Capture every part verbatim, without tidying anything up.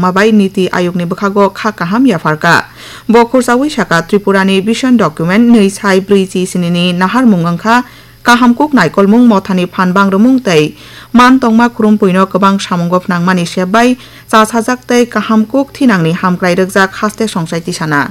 ma bai Niti Ayogni bwkhago kha kaham yapharkha. Bo khursaui saka, Tripurani Vision Document nwi sai brwi chi sinini naharmung wngkha kaham kuk naikolmung mothani phan bangrwmung tei man tongma khurumpuino kwbang samungo phnangmani sep bai chasajak tei kaham kuk thinangni hamkrai rwkjak haste songchai tisana.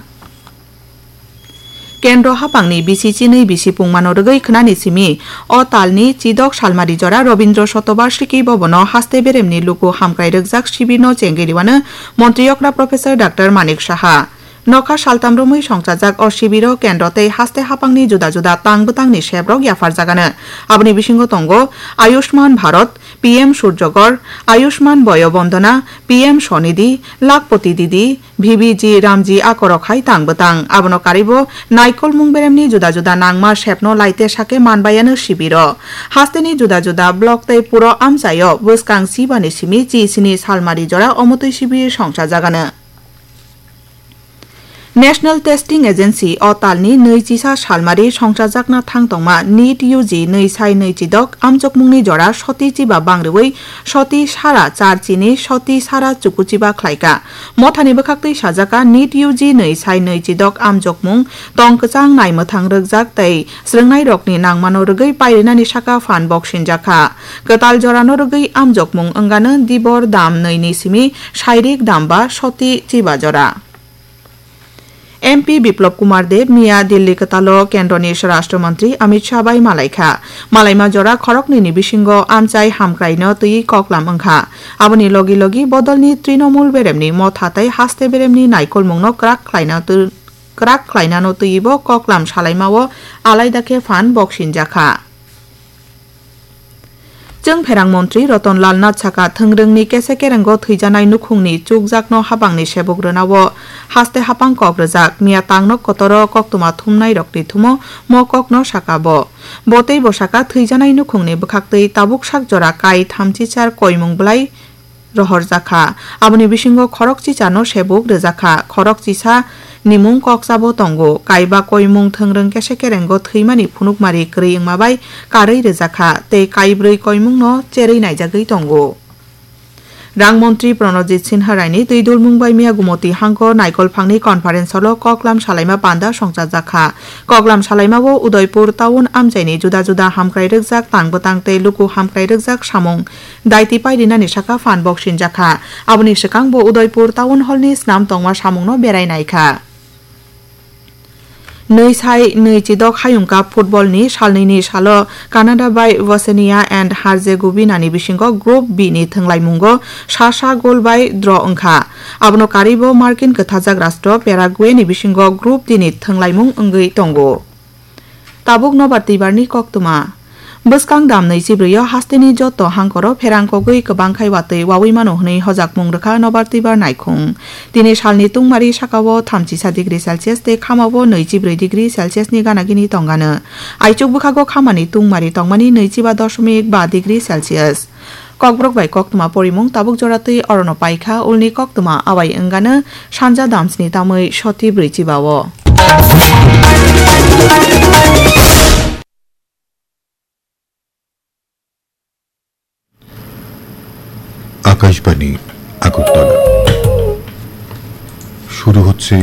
Kendro hapangni bisi chinwi bisi pungmano rwgwi khwnani simi o talni chidok salmari jora Robindro Shatobarshiki Bhabono haste beremni luku hamkrai rwkjak sibirno chengwi rwano montri okra Professor Doctor Manik Saha. Nokha saltam romwi songchajak o sibiro kendro tei haste hapangni juda juda tang bwtangni seprok yapharjagano. Aboni bisingo tongo Ayushman Bharat, P M Surjagor, Ayushman Boyo Bondona, P M Swanidhi, Lakhpati Didi, V B G Ramji akorok hai tang bwtang. Abono karibo naikolmung beremni juda juda nangma sepno laite sake manbayano sibiro. Hasteni juda juda block tei puro amchaio bwskang chibani simi chi sini salmari jora omotwi sibi songchajagano. National Testing Agency o talni nwi chisa salmari songchajakna thang tongma NEET U G nwi sai nwi chidok amchokmungni jora soti chiba bangriwi soti sara char chini soti sara chukuchiba khlaika. Mothani bwkhaktwi sajaka NEET U G nwi sai nwi chidok amchokmung tong kwchang naimwthang rwkjak tei swrwngnairokni nangmano rwgwi pairinani saka phan boksinjakha. Kwtal jorano rwgwi amjokmung wngano dibor dam nwi ni simi sairik dam ba soti chiba jora. M P Biplab Kumar Deb miya Delhi kwtalo Kendroni Swarashtra Mantri Amit Shah bai malaikha. Malaima jora khoroknwi ni bisingo amchai hamkraino twi koklam wngkha. Aboni logi logi bodolni Trinamool beremni motha tei haste beremni naikolmungno kwrak khlaina tw-, kwrak khlainano twibo koklam salaimao alaida khe phan boksinjakha. Chwng pherang montri Ratan Lal Nath saka, thwngrwngni kese kerengo thwijanai nukhungni chukjakno habangni sebuk rwnao haste hapang kok rwjak. Miya tangno kotoro koktwma thumnairokni thumo mo kokno saka bo. Bo teibo saka, thwijanai nukhungni bwkhaktwi tabuk sak jora kai thamchichar koimung bwlai rohorjakha. Aboni bisingo khorokchichano sebuk rwjakha, khorokchisa nimung kokchabo tongo. Kaiba koimung thwngrwng kese kerengo thwimani phunukmari kwrwi wngma bai karwi rwjakha tei kaibrwi koimungno cherwi naijagwi tongo. Rang montri Pranojit Sinha raini twi dulmung bai miya Gumoti hango naikolphangni conference hall-o koklam salaima panda songchajakha. Koklam salaimao Udaipur town amchaini juda juda hamkrai rwkjak tang bwtang tei luku hamkrai rwkjak samung daiti pairinani saka phan boksinjakha. Aboni swkang bo Udaipur Town Hall ni snam tongma samungno berai naikha. Nwi sai nwi chidok hayung cup football ni salnwi ni salo Canada bai Bosnia and Herzegovina ni bisingo Group B ni thwnglaimungo sa sa goal bai draw wngkha. Abono karibo markin kwthajak rastro Paraguay ni bisingo Group D ni thwnglaimung wngwi tongo. Tabuk nobar twibarni koktwma. Bwskang dam nwi chibrwi o hasteni joto hangkoro pherang kogwi kwbang khai watwi wawi mano hwnwi hojakmung rwkha nobar twibar naikhung. Tini salni tungmari sakao thamchisa degree Celsius tei khamao nwi chibrwi degree Celsius ni gana gini tongano. Aichuk bwkhago khamani tungmari tongmani nwi chiba dosmik ba degree Celsius. Kokborok bai koktwma porimung tabuk jora twi orono paikha, ulni koktwma awai wngano sanja damsni tamwi soti brwi chibao. Akashvani আগরতলা। শুরু হচ্ছে